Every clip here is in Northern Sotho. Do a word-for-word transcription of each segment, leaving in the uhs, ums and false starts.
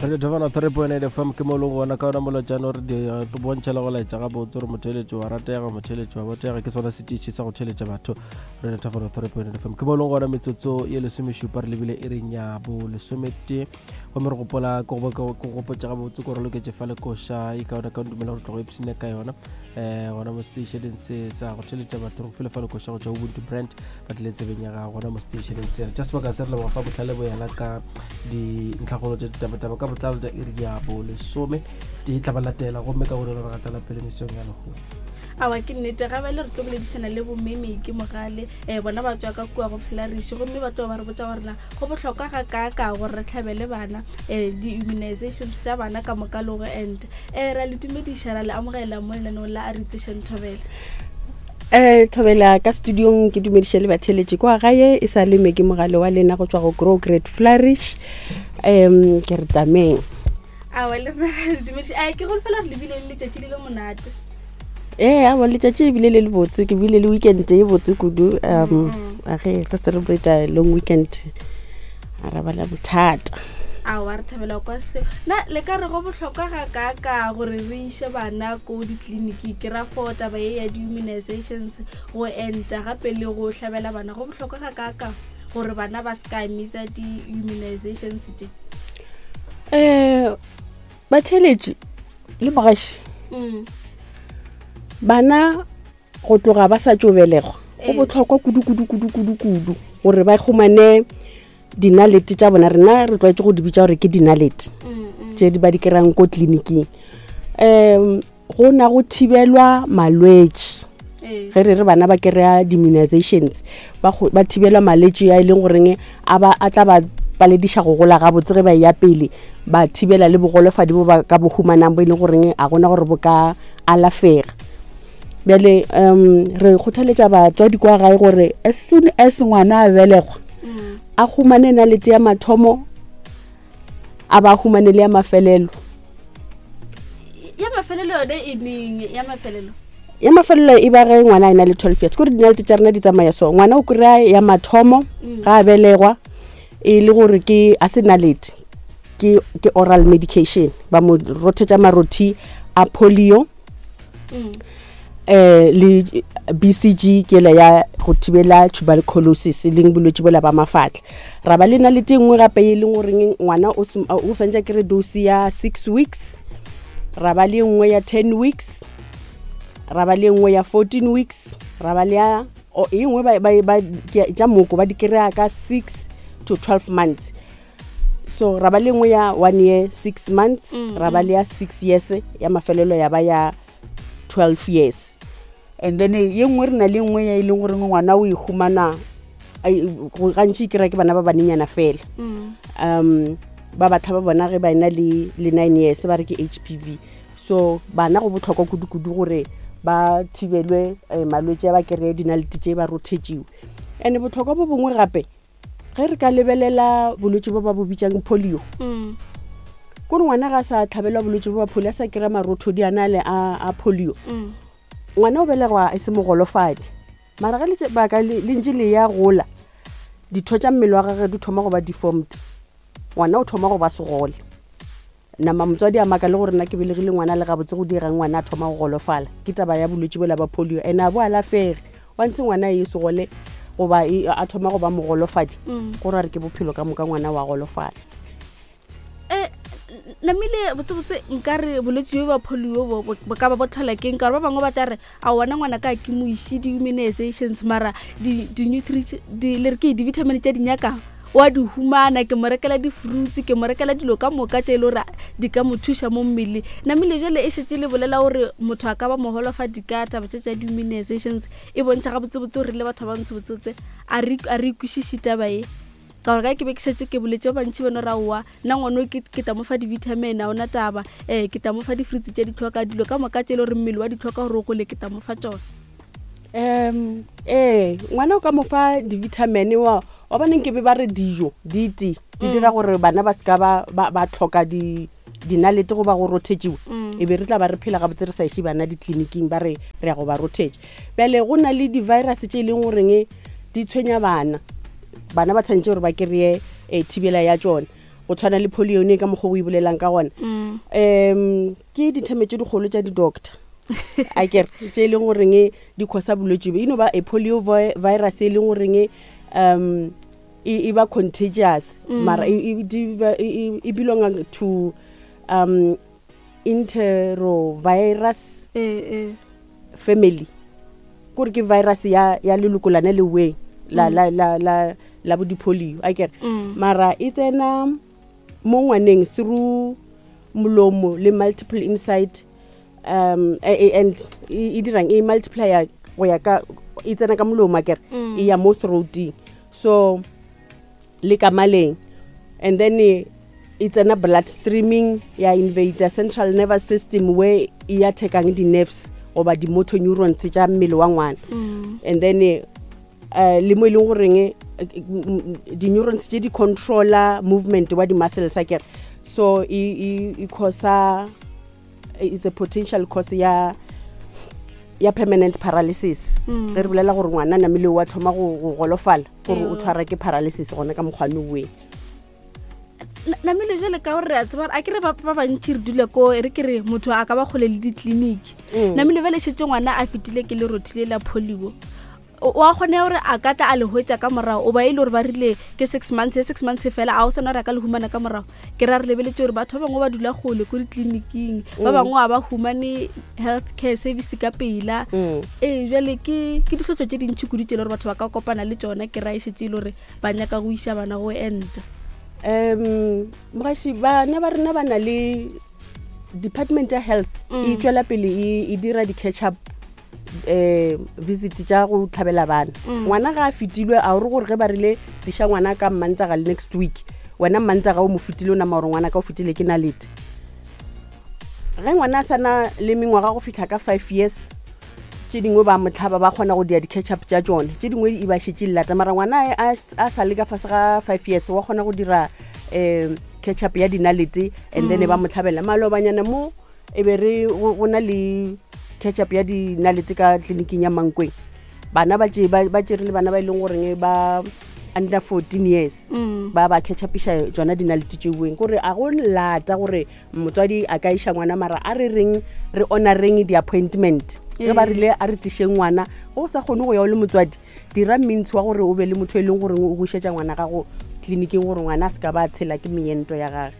Radio Thabana three point eight F M ke mo leng gona ka ona molotšane gore di bontšha le go laetša gabotse gore motheeletši wa ratega, motheeletši wa botega, ke sona setiši sa go theeletša batho. Radio Thabana three point eight F M ke mo leng gona metsotso ye lesomešupa re lebile e reng ya bo lesometee, gomme re gopola ke go gopotša gabotse ko re loketše fa lekoša e kaone ka dumela gore tlogo ipshine ka yona um gona mo stationeng se sa go theeletša batho. Re file fa lekoša go tšwa Ubuntu Brand ba tlile tsebeng ya gago gona mo stationeng se. Re tša sebaka se re leboga fa bohlale bo yena ka dintlhakgolo tša ditabataba ka botlalo tša iri ya bo lesome tee tla ba latela, gomme ka gore re gatela pele mesong ya lehono. Awa ke nnete ga bale re tlo boledišana le bomme ke Mogale, um bona ba tswa ka kua go Flourish, gomme ba tlo ba re botsa gore na go bohlokwa ga kaaka gore re tlhabele bana um di-immunizations tša bana ka moka le go enta. Um ra le dumediša, ra le amogela mo lenaneong la a re itsešeng Thobela. Um Thobela ka studiong ke dumediše le batheeletši kwa gae, e sa le Meke Mogale wa lena go tšwa go Grow Great Flourish. Um ke re tameng. Awa le rena ra le dumediša. Eh, ke golofela re lebile le letšatši le le monate. Ee, awa letšatši ebile le le botse, ke bile le weekend e botse kudu. Um ge re celebrate long weekend, a ra ba la bothata. Awa re thabela kwa seo. Na le ka re go bohlokwa ga kaaka gore re iše bana ko ditleliniki, ke ra for taba ye ya di-immunizations, go enta gape le go hlabela bana, go bohlokwa ga kaaka gore bana ba se ka misa di-immunizations tše? Um batheeletši le mogaši, Mm. bana go tloga ba sa tšo belegwa go Ee. bohlokwa kudu kudu kudu kudu kudu gore ba humane dinalete tša bona. Rena re tlwaetše go di bitša gore ke dinalete Mm, mm. tše di ba di kry-ang ko tleliniking. Um go na go thibelwa malwetši. Ee. Ge re re bana ba kry-a di-immunizations, ba go- ba thibelwa malwetši a e leng goreng a ba, a tla ba palediša go gola gabotse ge ba eya pele, ba thibela le bogolofadi bo ba ka bo humanang bo e leng goreng a gona gore bo ka alafega. Bjale um re kgothaletša batswadi kwa gae gore as soon as ngwana a belegwa, Mm. a humane nalete ya mathomo, a ba humane le ya mafelelo. Ya mafelelo yone e neng? Ya mafelelo? Ya mafelelo e ba ge ngwana a ena le twelve years. Ke gore dinalete tša rena di tsamaya so, ngwana o kry-a ya mathomo Mm. ga a belegwa, e le gore ke a se nalete, ke, ke oral medication, ba mo rothetša marothi a polio, Mm. eh le B C G ke ela ya go thibela tuberculosis, e leng bolwetši bola ba mafatla. Ra ba le nalete e nngwe gape e leng goreng ngwana o sem-, o swantše a kry-e dose ya six weeks, ra ba le e nngwe ya ten weeks, ra ba le e nngwe ya fourteen weeks, ra ba le ya, o, e nngwe ba, ba, ba, ke, tša moko ba di kry-a ka six to twelve months. So ra ba le nngwe ya one year six months, Mm, ra ba le ya six years, ya mafelelo ya ba ya twelve years. And then ye nngwe re na le nngwe ya e leng gore ngwana o e humana, ai, go gantši e kry-a ke bana ba banenyana fela. Mm. Um ba batho ba bona ge ba ena le, le nine years ba re ke H P V. So bana go bohlokwa kudu-kudu gore ba thibelwe, eh, malwetši a ba kry-e dinalete tše ba rothetšiwe. And bohlokwa bo bongwe gape, ge re ka lebelela bolwetši bo ba bo bitšang polio, Mm. kore ngwana ga a sa tlhabelwa bolwetši bo ba polio, a sa kry-a marothodi a na le a, a polio, Mm. ngwana o belegwa e se mogolofadi. Mara ge letše-, baka le, le ntše le ya gola, ditho tša mmele wa gagwe di thoma go ba deformed, ngwana o thoma go ba segole. Nama motswadi a maka le gore nna ke belegile ngwana le gabotse go dirang ngwana a thoma go golofala, ke taba ya bolwetši bola ba polio. And a bo alafege, wa ntse ngwana e segole goba e, a thoma go ba mogolofadi, Mm. go ra re ke bophelo ka moka ngwana wa golofala. Eh, namile botsebotse nka re bolwetši bjo ba polio bo, bo, bo ka ba bo tlhola keng? Ka gore ba bangwe ba tla re, a wona ngwana ka ke mo iše di-immunizations, mara di, di-nutri-, di, le re ke di-vitamin tše di nyakang wa di humana, ke mo rekela di-fruits, ke mo rekela dilo ka moka tše e le gore di ka mo thuša mo mmeleng. Namile jwale e šetše le bolela gore motho a ka ba mogolofadi ka taba tše tša di-immunizations, e bontšha gabotsebotse gore le batho ba bantsho botsebotse a re, a re kwešiše taba e. Ka gore ka ke be ke šetše ke boletše ba bantši ba no ra oa, nna ngwana o ke, ke tla mo fa di-vitamin, ha ona taba, eh, ke tla mo fa di-fruits tše di tlhoka, dilo ka moka tše e le gore mmele wa di tlhoka gore o gole, ke tla mo fa tšona. Um ee, ngwana o ka mo fa di-vitamin wa, wa bane nke be ba re dijo di tee, di Mm. dira gore bana ba seka ba, ba, ba tlhoka di, dinalete goba go rothetšiwa. Mm. E be re tla ba re phela gabotse re sa iše bana ditleliniking ba re re ya go ba rothetša. Bjale go na le di-virus tše e leng goreng di tshwenya bana, bana ba tshwanetse gore ba kry-e, eh, thibela ya tšona. Go tshwana le polio ne ka mokgwa o e bolelang ka gona. Mm. Um ke ditheme tše dikgolo tša di-doctor a kere tše e leng goreng di causa bolwetse bo e no ba a polio vi- virus e leng goreng um e e ba contagious Mm. mara e, e, di- e, e- e belonga to um enterovirus ee ee family, kore ke virus ya ya leloko lana le weng la Mm. la la la la bo di-polio a kere. Mm. Mara e tsena mo ngwaneng through molomo le multiple inside um e- e- and e e dirang e multiplya go ya ka e tsena ka molomo a kere, Mm. e ya mo throating so le ka maleng, and then e e tsena blood streaming ya invade central nervous system where e attackang di-nerves goba di-motor neurons tša mmele wa ngwana. Mm. And then eh, eh, le mo e leng goreng eh, m- m- di-neurons tše di controla movement wa di-muscles a kere, so e e- e causa is a potential cause ya ya permanent paralysis. Mm. Ge re bolela gore ngwana namile wa thoma go go golofala gore o Eyo. tshwara ke paralysis gona ka mokgwane oweng. Na- namile jale ka gore re a tseba gore a kere ba ba bantši re dula ko e re ke re motho a ka ba kgole le ditleliniki. Mm. Namile bjale šetse ngwana a fetile ke lerothi le la polio, o o a kgone gore a ka tla a le hwetša ka morago o ba e le gore ba rile ke six months ye six months fela a o sana gore a ka le humana ka morago? Ke ra re lebeletse gore batho ba bangwe ba dula kgole ko ditleliniking, ba Mm. bangwe ga ba humane health care service ka pela. Mm. Ee, jale ke ke ditlhotlho tse dintšhi kudu tse e le gore batho ba ka kopana le tsona, ke ra e šetse e le gore ba nyaka go iša bana go enta. Um mogaši, bana ba rena ba na le department ya health e Mm. tšwela pele e e dira di-catch up um visit tša go tlhabela bana. Mm. Ngwana ga a fetilwe a ore gore ge ba rile tliša ngwana ka Mmantaga le next week, wena Mmantaga o mo fetile o nama gore ngwana ka o fetile ke nalete. Ge ngwana a sana le mengwaga go fitlha ka five years, tše dingwe ba motlhaba ba kgona go dia di-catch up tša tšone, tše dingwe e ba šetše lelata, mara ngwana a, a sa le ka fase ga five years wa kgona go dira um catch up ya dinalete and then Mm. ba mo tlhabela. Malobanyana mo e be re go go na le catch up ya dinalete ka tleliniking ya Mankweng, bana ba tše- ba ba tšere le bana ba e leng goreng ba under fourteen years, Mm. ba ba catch upiša tsona dinalete tšeweng, kore a go lata gore motswadi a ka iša ngwana, mara a re reng re honoreng di-appointment ge ba Ee. rile a re tlišeng ngwana. Ge o sa kgone go ya o le motswadi, dira means wa gore o be le motho e leng goreng o go išetša ngwana gago tleliniking gore ngwana a se ka ba tshela ke meento ya gage.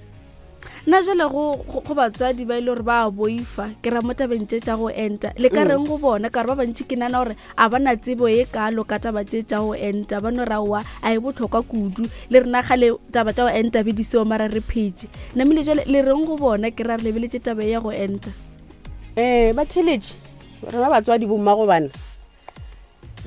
Nna jale go go- go batswadi ba e le gore ba a boifa, ke ra mo tabeng tše tša go enta, le ka Mm. reng go bona? Ka gore ba bantši ke nana gore a ba na tsebo ye kalo ka taba tše tša go enta, ba no ra oa a e botlhokwa kudu le rena gale taba tša go enta be di seo mara re phetse. Namile jale le reng go bona? Ke ra re lebeletse taba ye ya go enta. Um ba theletše rena batswadi bommago bana,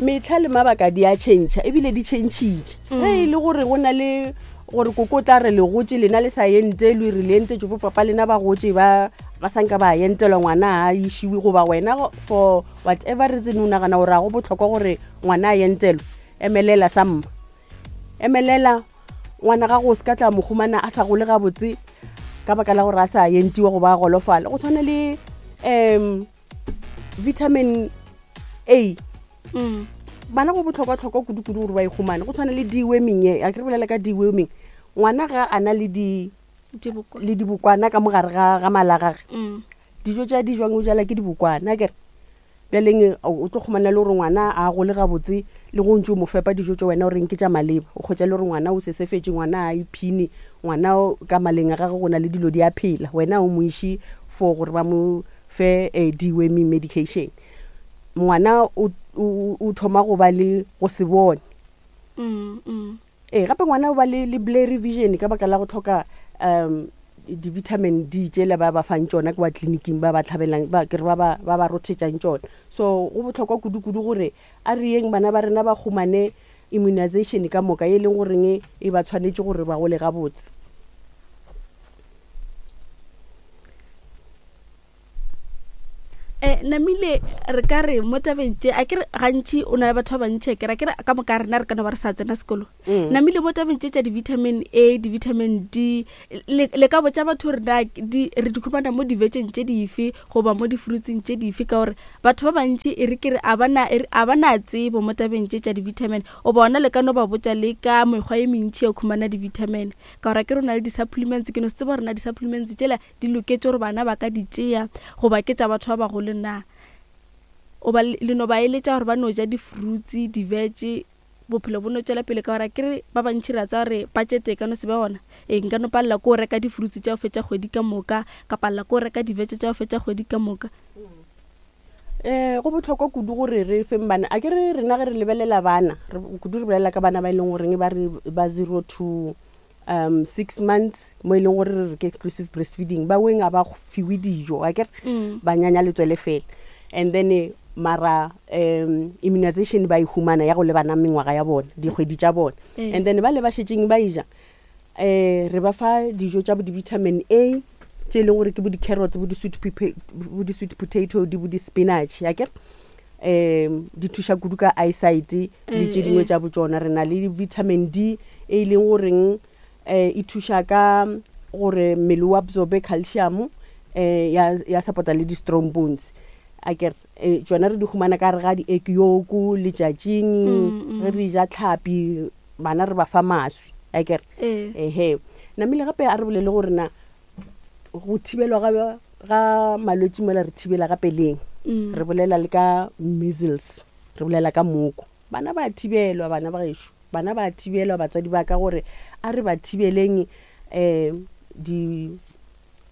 metlha le mabaka di a change ebile di changile. Ge e le gore go na le gore koko o tla re le gotse lena le sa ente le re le entetse bo papa lena ba gotse ba ba sanka ba entelwa, ngwana a išiwe, goba wena go- for whatever reason o nagana gore a go botlhokwa gore ngwana a entelwe, emelela sa mma, emelela ngwana gago o se ka tla mo humana a sa gole gabotse ka baka la gore a sa entiwa goba a golofala. Go tshwana le um vitamin A, Mm. bana go botlhokwa-tlhokwa kudu-kudu gore ba e humane. Go tshwana le deworming ye a ke re bolela ka deworming, ngwana ga a na le di Diboko. le dibokwana ka mogare ga ga mala a gage, Mm. dijo tša di jwang o jala ke dibokwana akere bjaleng o tlo kgomana le gore ngwana a gole gabotse le go ntse o mo fepa dijo tse wena o reng ke tša maleba, o kgotsa le gore ngwana o sesefetse, ngwana a iphine, ngwana o- ka maleng a gage go na le dilo di a phela, wena o mo iše for gore ba mo fe eh, deworming medication, ngwana o, o, o thoma go ba le go se bone. Mm, mm. Ee, gape ngwana o ba le, le blurry vision ka baka la go tlhoka um di-vitamin D tšela ba ba fang tšona kwa tleliniking, ba ba tlhabelang ba kere ba ba ba ba rothetšang tšona. So go botlhokwa kudu-kudu gore a re yeng bana ba rena ba humane immunization ka moka e leng goreng e ba tshwanetse gore ba gole gabotse. Eh namile re ka re mo tabeng tše a ke re gantši o na le batho ba bantši a kere a ke re ka moka rena re ka no ba re sa tsena sekolo. Mm. Namile mo tabeng tše tša di-vitamin A, di-vitamin D, le, le ka botša batho gore na di, re di khumana mo divetšeng tše dife goba mo di-fruitseng tše dife, ka gore batho ba bantši e re ke re a ba na, e re a ba na tsebo mo tabeng tše tša di-vitamin. O bona le ka no ba botša le ka mekgwa e mentši ya go khumana di-vitamin, ka gore a ke re o na le di-supplements. Ke no se tseba gore na di-supplements tšela di loketše gore bana ba ka di tšea goba ke tša batho ba bagolo na. O ba le, le no ba eletša gore ba no ja di-fruits, di-veg, bophelo bo no tšwela pele, ka gore a ke re ba bantši re a tseba gore budget e ka no se be gona. Ee, nka no palela ke go reka di-fruits tša go fetša kgwedi ka moka, ka palela ke go reka di-veg tša go fetša kgwedi ka moka. Eh, go bohlokwa kudu gore re feng bana. A ke re rena ge re lebelela bana, re kudu re bolela ka bana ba e leng goreng ba re ba zero to um six months, mo e leng gore re re ke exclusive breastfeeding, ba weng a ba fiwe dijo, a ke re Mm. ba nyanya letswele fela. And then eh, mara um immunization ba e humana ya go lebana mengwaga ya bona, dikgwedi tša bona. Eh. And then ba le ba šetšeng ba e ja, eh re ba fa dijo tša bo di-vitamin A tše e leng gore ke bo di-carrots, bo di-sweet pepe-, bo di-sweet potato, di bo di-spinach, a ke re? Um di thuša kudu ka eyesight le Eh, tše dingwe eh. tša bo tšona. Re na le vitamin D e leng goreng eh e thuša ka gore mmele o absorbe calcium, eh ya, ya support-a le di-strong bones. A ke re, eh, tšona re di humana ka gare ga di-egg yolk letšatšing, Mm, mm. ge re ja tlhapi bana re ba fa maswi, a ke re? Eh. Ehe. Namile gape a re bolele gore na go thibelwa ga, ga malwetši mola re thibela gape leng. Mm. Re bolela le ka measles, re bolela ka moko. Bana ba thibelwa, bana ba gešo, bana ba thibelwa, batswadi ba ka gore a re ba thibeleng eh di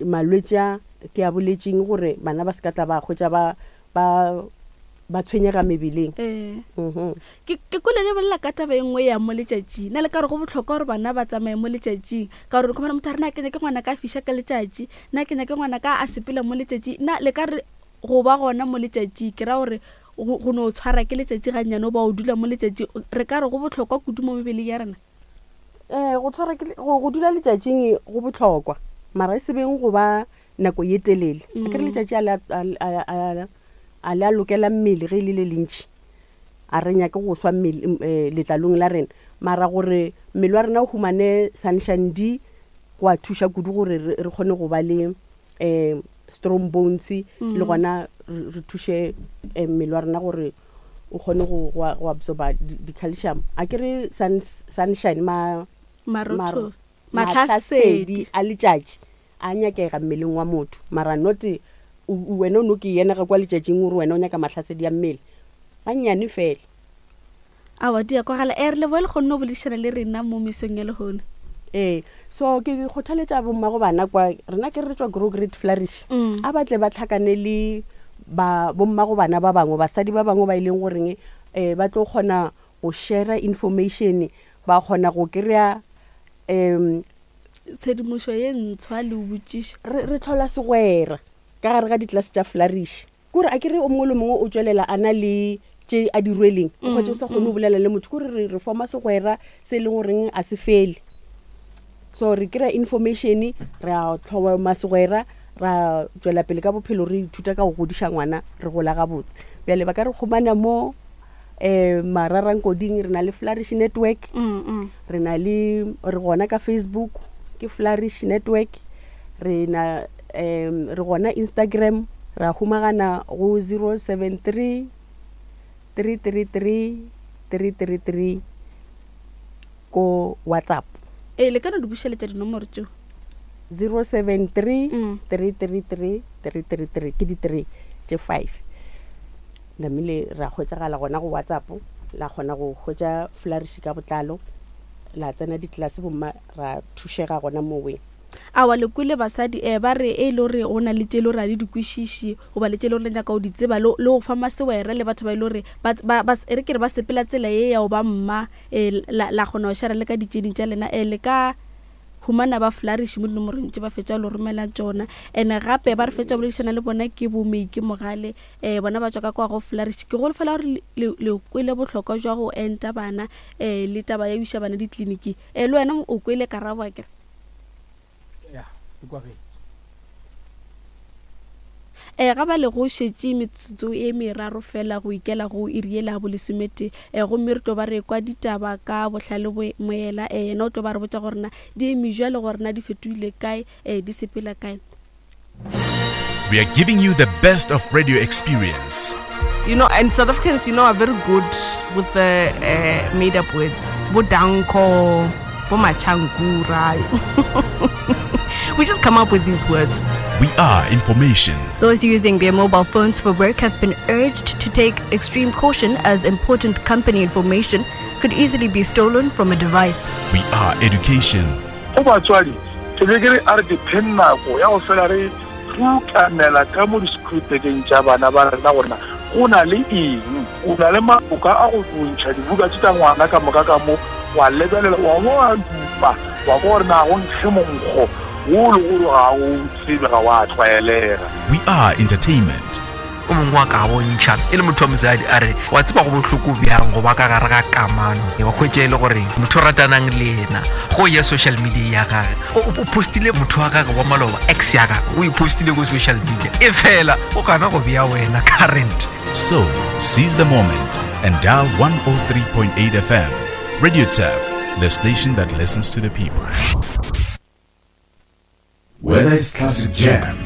malwetši a ke a boletseng gore bana ba se ka tla ba hwetša ba, ba, ba tshwenyega mebeleng. Eh. Mhm. Ke, ke kwele le bolela ka taba e nngwe ya mo letšatšing. Na le ka gore go bohlokwa gore bana ba tsamaye mo letšatšing, ka gore o khumana motho a re, na ke nyake ngwana ka a fiša ka letšatši, na ke nyake ngwana ka a sepela mo letšatšing. Na le ka re go ba gona mo letšatšing, ke ra gore go, go no tshwara ke letšatši gannyane o ba o dula mo letšatšing, re ka re go bohlokwa kudu mo mebeleng ya rena? Eh, go tshwara ke le-, go, go dula letšatšing go bohlokwa, mara e se beng go ba nako ye telele. A ke re Mm. letšatši a le a, a, a, a, a le a lokela mmele ge e le le lentši, a re nyake go swa mmele, m-, eh, letlalong la rena, mara gore mmele wa rena o humane sunshine D go a thuša kudu gore re, re kgone go ba le, eh, strong bones, le Mm. gona re, re thuše, eh, mmele wa rena gore o kgone go, go, go absorba di, di-calcium. A ke re sun, sunshine, ma-, Marotho. maro-, Mahlasedi. mahlasedi a letšatši a nyakega mmeleng wa motho, mara not o, o, wena o no ke yena ga kwa letšatšing gore wena o nyaka mahlasedi a mmele gannyane fela. Aowa, di a kwagala. Eh, re leboha le kgonne ho boledišana le rena mo mesong ya lehono. Ee, so ke kgothaletša bommago bana kwa rena ke re tšwa Grow Great Flourish. Mm. A ba tle ba tlhakane le ba bommago bana ba bangwe, basadi ba bangwe ba e leng goreng, eh, ba tlo kgona go share information, ba kgona go kry-a, em, tshedimošo ye ntshwa le ho botšiša. Re, re tlhola segwera ka gare ga ditlelase tša Flourish. Ke gore a ke re o mongwe le mongwe o tšwelela a na le tše a di rweleng, o kgwetše o sa kgone go bolela le motho. Ke gore re, re forma segwera se e leng goreng a se fele. So re kry-a information, re a tlhoma segwera, ra tšwela pele ka bophelo, re ithuta ka go godiša ngwana, re gola gabotse. Bjale ba ka re khumana mo, eh, Mararankoding, re na le Flourish Network. Mm, mm. Re na le, re gona ka Facebook, ke Flourish Network. Re na, em, re gona Instagram, ra humagana go zero seven three, three three three, three three three ko WhatsApp. Ee, le ka no di bušeletša dinomoro tšeo. zero seven three, Mm. three three three, three three three, ke di three tše five. Namile ra hwetšagala gona go WhatsApp, la kgona go hwetša Flourish ka botlalo, la tsena ditlelase bomma, ra thušega gona moweng. Aowa, le kwele basadi, eh, ba re e le gore go na le tše e le gore ga le di kwešiše, goba le tše e le gore le nyaka go di tseba, le, le go fa masewere le batho ba e le gore ba, ba, ba, e re ke re ba sepela tsela ye ya go ba mma, eh, la, la kgona go share le ka ditšeding tša lena, eh, le ka humana ba Flourish mo dinomorong tše ba fetša go le romela tšona. And gape ba re fetša boledišana le bona ke bo Meike Mogale, eh, bona ba tšwa ka kwa go Flourish. Ke golofela gore le, le, le kwele bohlokwa jwa go enta bana, eh, le taba ya go iša bana ditleliniking. Eh, le wena o kwele karabo akere? Ya, e kwagetše. um ga ba le go šetše metsotso e meraro fela go ikela go iri yela ya bolesometee um gomme re tlo ba re kwa ditaba ka bohlale bo moela um yena o tlo ba re botša gore na di eme jwale gore na di fetogile kae um di sepela kae We are giving you the best of radio experience. You know, and South Africans, you know, are very good with the uh, made up words. Bodanko, Bomachankura. We just come up with these words. We are information. Those using their mobile phones for work have been urged to take extreme caution as important company information could easily be stolen from a device. We are education. Go batswadi ke be ke re a re dipheng nako ya go fela re rukamela ka mo di-schoolbageng tša bana ba rena gorena go na le eng o na le maboka a go bontšha dibuka tše tša ngwana ka moka ka mo wa lebelela wa bo wa dupa wa kwa gore na go nkge monkgo wo le gore ga o tsebe ga wa tlwaelega We are entertainment. o mongwe wa ka bontšha e le motho wa mosadi a re wa tseba go bohloko bjang go ba ka gare ga kamano wa hwetša e le gore motho o ratanang le ena go ya social media ya gage o o postile motho wa gage wa maloba ex ya gage o e postile ko social media e fela o gana go bea wena current So, seize the moment and dial one oh three point eight F M. Radio Turf, the station that listens to the people. Whether it's classic jam,